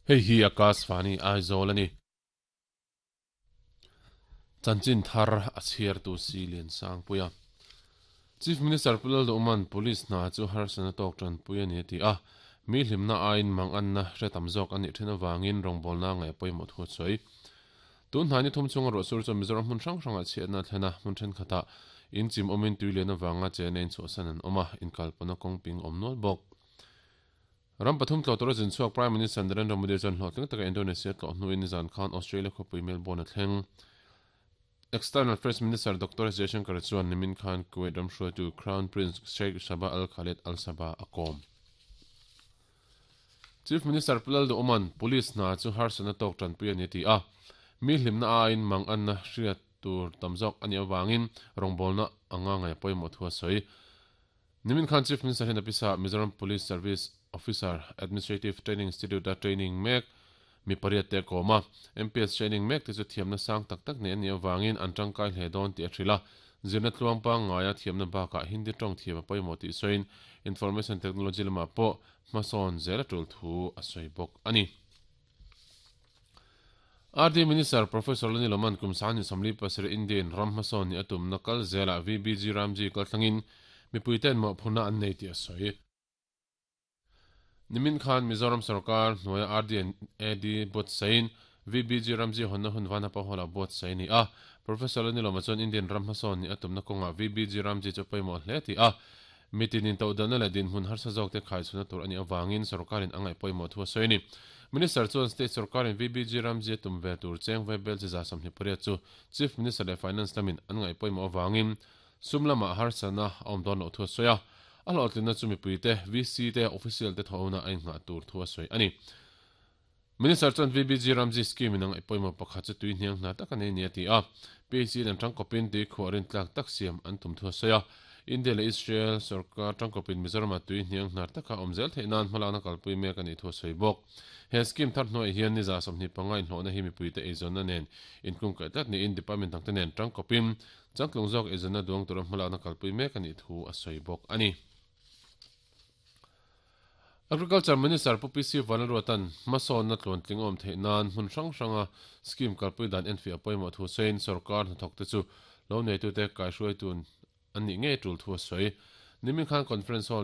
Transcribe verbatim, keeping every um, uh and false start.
Hei hi Akashvani Aizawl a ni. Chanchin thar a chhiar tu si lian sang puia. Chief Minister Pu Lalduhoma'n Police hna chu harsatna tawk tanpui a ni a ti a, mi hlimna aiin mang anna hre tam zawk a nih then avangin rawngbawlna ngaih pawimawh thu a sawi. Tun hnai ni thum chunga ruahsur chuan Mizoram hmun hrang hrangah chhiatna a thlen a, hmun thenkhatah in chim awmin tui lian avanga chena inchhuahsan an awm a, inkalpawhna kawng ping awm nual bawk. Ram pathum tlawh tura zin chhuak Prime Minister Narendra Modi chuan hlawhtling taka Indonesia tlawh hnuin nizan khan Australia khawpui Melbourne a thleng. External Affairs Minister Doctor S Jaishankar chuan nimin khan Kuwait ram hruaitu Crown Prince Sheikh Sabah Al Khaled Al Sabah a kawm. Chief Minister Pu Lalduhoma'n Police hna chu harsatna tawk tanpui a ni a ti a, mi hlimna aiin mang anna hriat tur tam zawk a nih avangin rawngbawlna anga ngaih pawimawh thu a sawi. Nimin khan Chief Minister hian a pisa Mizoram Police Service Officer Administrative Training Institute-a training mek mi pariat te a kawm a. M P S training mek te chu thiamna sang tak tak nei an nih avangin an tangkai hle dawn tih a hrilh a. Zirna tluang pangngaia thiamna bakah Hindi tawng thiam a pawimawh tih sawiin Information Technology lamah pawh hmasawn zel a tul thu a sawi bawk a ni. R D Minister Professor Lani Loman kum sangni sawmli pasarih Indian ram hmasawn ni a tumna kal zelah V B G Ramji kalthlangin mipuiten mawhphurhna an nei tih a sawi. Nimin khan Mizoram sarkar hnuaia R D and A D buatsain V B G Ramji hawnna hun Vanapa Hall-ah buatsaih a ni a. Professor Lani Loma chuan Indian ram hmasawn ni a tumna kawngah V B G Ramji chu pawimawh hle ti a. Mitin intohdanna leh dinhmun harsa zawk te khaichhuna tur a nih avangin sarkarin a ngaih pawimawh thu a sawi a ni. Minister chuan state sarkarin V B G Ramji a tum ve tur cheng vaibel chi za sawmhnih pariat chu Chief Minister leh Finance lamin an ngaih pawimawh avangin sum lamah harsatna a awm dawn loh thu a sawi a. A hlawhtlinna chu mipui te, V C te, official te thawhna a inngah tur thu a sawi a ni. Minister chuan V B G Ramji scheme in a ngaih pawimawh pakhat chu tui hniang hna tak a nei ni a ti a. P H E an tangkawpin tui khuah rin tlak tak siam an tum thu a sawi a. India leh Israel sarkar tangkawpin Mizoram-a tui hniang hnar taka awm zel theih nan hmalakna kalpui mek a nih thu a sawi bawk. He scheme thar hnuaiah hian ni za sawmhnih panga inhlawhna hi mipuite eizawnna nen inkungkaih tlat niin department dangte nen tangkawpin changtlung zawk eizawnna duang tura hmalakna kalpui mek a nih thu a sawi bawk a ni. Agriculture Minister Pu P C Vanlalruata'n hmasawnna tluantling awm theih nan hmun hrang hranga scheme kalpui dan enfiah pawimawh thu sawiin sarkar hnathawkte chu lo neitute kaihruaitun an nih ngei tul thu a sawi. Nimin khan conference hall